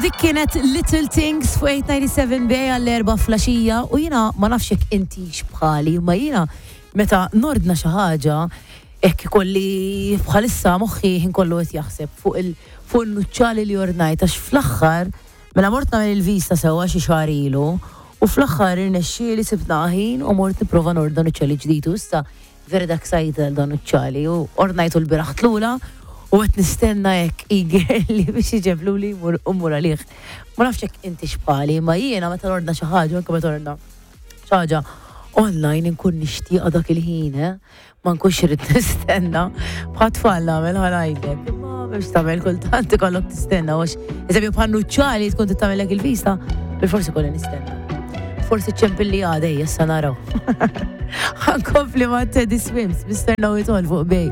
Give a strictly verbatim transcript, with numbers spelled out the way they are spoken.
Dik kienet Little Things fuq eight ninety-seven Bay għall-erbgħa filgħaxija u jiena ma nafx jekk inti bħali, ma jiena meta nordna xi ħaġa hekk ikolli bħalissa moħħi ħin kollu qed jaħseb fuq il fuq il-nuċċali li ordnajt, għax fl-aħħar mela mort nagħmel il-vista sewwa xi xahar ilu u fl-aħħar irnexxieli sibna ħin u mort nipprova nordna nuċċali ġdid u issa vera dak sajt dan nuċċali u ordnajtu lbieraħ tlula u qed nistenna hekk eagerly biex iġeblu li mur u mur għalih. Ma nafx jekk inti bħali, ma jiena meta nordna xi ħaġa, anke meta nordna xi ħaġa online, nkun nixtieqa dak il-ħin, eh? Ma nkunx irrid nistenna. Bħal tfal nagħmel, ħa ngħidlek. Imma biex tagħmel, kultant ikollok tistenna għax eżempju bħal nuċċali tkun tagħmellek il-vista, bil-forsi kolli nistenna. Forsi ċempilli għada, issa naraw. Ħa nkompli ma' Teddy Swims, Mister Know It All fuq Bay.